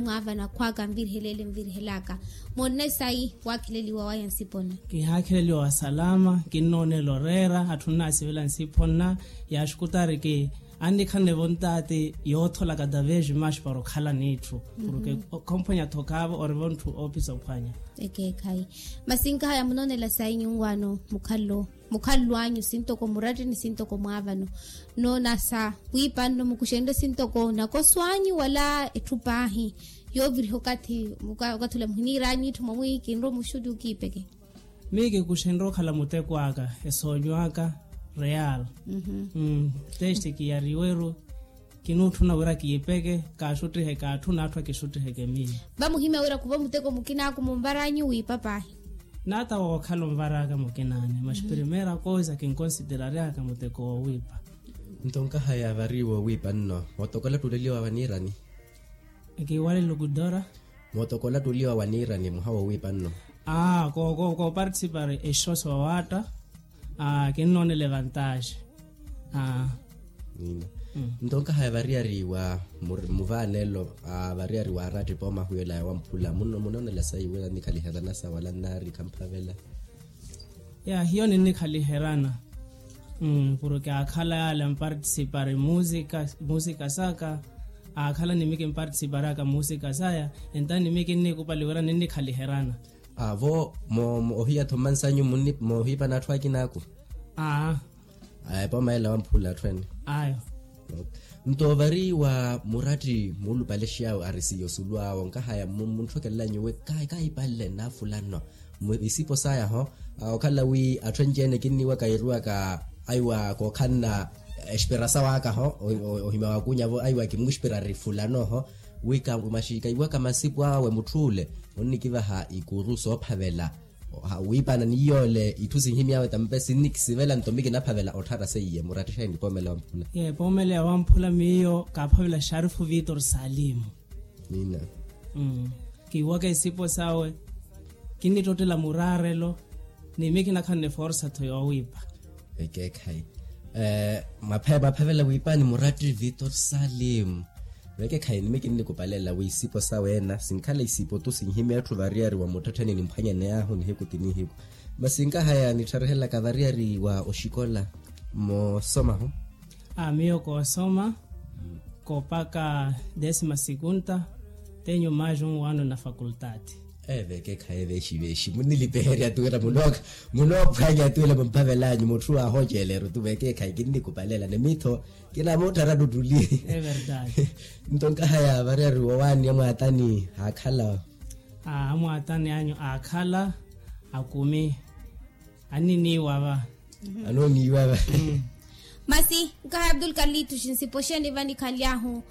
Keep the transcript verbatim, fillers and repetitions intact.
Mwaavana khwaaka nviriheleele nvirihelaka. Moonne sayi waakheleliwa waya nsipo nna? Kihaakheleliwa wa salama. Kinnoonela oreera atthu nnaasivela nsipo nna. Yaaxukuta ariki annikhanne vontaati yootholaka taveji maxi para okhala n'itthu. Porke khomphwanya-tho khaavo orivo ntthu oophisa ophwanya. Ekeekhayi. Masi nkahaya munoonela sayi nyunwaano mukhallo mukhallo anyu sintoko murattini sintoko mwaavano. Noona sa wiipa nno mukuxenrye sintoko nakoso anyu wala etthu paahi yooviriha okathi okathi ula muhiniira anyu itthu mwamwi kinrowa muxutti okiipeke. Miyo kikuxenrye okhala muteko aka esoonyo aka real. Testi kiyariweru. Kinuutthuna wira kiipeke kaaxuttihe kaatthu n'atthu akixuttiheke miyo. Vamuhimya wira khuva muteko mukina aku munvaranyu wiipa paahi. N'ata wookhala onvaraka mukin'anyu maxi primeira koisa kinkonsideraryaaka muteko woowiipa. Nto nkahaya vari woowiipa nno mootokola ttuuleliwa waniirani? Ekiwalelo kudora. Mootokola ttuuliwa waniirani muha woowiipa nno? Aa kooparticipari exoso wawaatta. Kinnoonela evantaxe. Nto nkahaya variyari wa muvaanelo variyari wa araattipa omahuwelaya wamphula munoonela sayi wira nnikhaliherana sa wala nnaari khamphavela? Ya hiyo ninnikhaliherana. Porke aakhala yaale amparticipari musika saka. Aakhala nimi kimparticiparaka musika saya. Enta nimi kinnikupali wira ninnikhaliherana. Vo ohiya-tho mmansanyu moohiipana atthu akina aku? Aa. Aya epooma ela wamphula atthu ene. Ayo. Nto vari wa muratti muulupalexiy'awe arisiya osulu awo nkahaya muntthokelelanyuwe kahipalle nnaafulano. Isipo sayaho okhala wi atthu enci-ene kinniiwaka yiiriwaka aiwa kookhanna expirasawo akaho. Ohimya wakuunyavo aiwa kimuxpirari fulanoho. Wi maxi kaiwaka masipu awe mutth'ule onnikivaha ikuru soophavela. Wiipana ni yoole itthu sinhimy'awe tampe sinnikisivela nto mi kinaphavela otthara seiye murattixa enipoomela wamphula. Epoomela ya wamphula miyo kaaphavela xarifu vitor salimu. Kiiwaka isipo sawe kinnittottela muraarelo. Ni mi kinakhanne forsa-tho yoowiipa. Ekeekhayi. Mwaphavela wiipani muratti vitor salimu. Vekeekhayi ni mi kinnikupalelela wi isipo sawe ena sinkhala isipo tu sinhimya etthu variyari wa muttettheni nimphwanyane ahu nihiku ti nihiku. Masi nkahaya nittharehelaka variyari wa oxikola. Moosomahu? Aa miyo koosoma koopaka desima sikunta. Tenho mais um ano na faculdade. Evekeekhayi veexiveexi munnilipeherya tuwira munoophwanya tuwira mumphavel'anyu mutthu aahooceeleru tu vekeekhayi kinnikupalela ni mi-tho. Kinamuutthara ttuttuli. Nto nkahaya variyari wowaani amwaatani aakhala? Amwaatani anyu aakhala akumi. Anniniiwa va. Anooniiwa va. Masi nkahaya abdul kalituxi nsipo xeeni vanikhanly'ahu?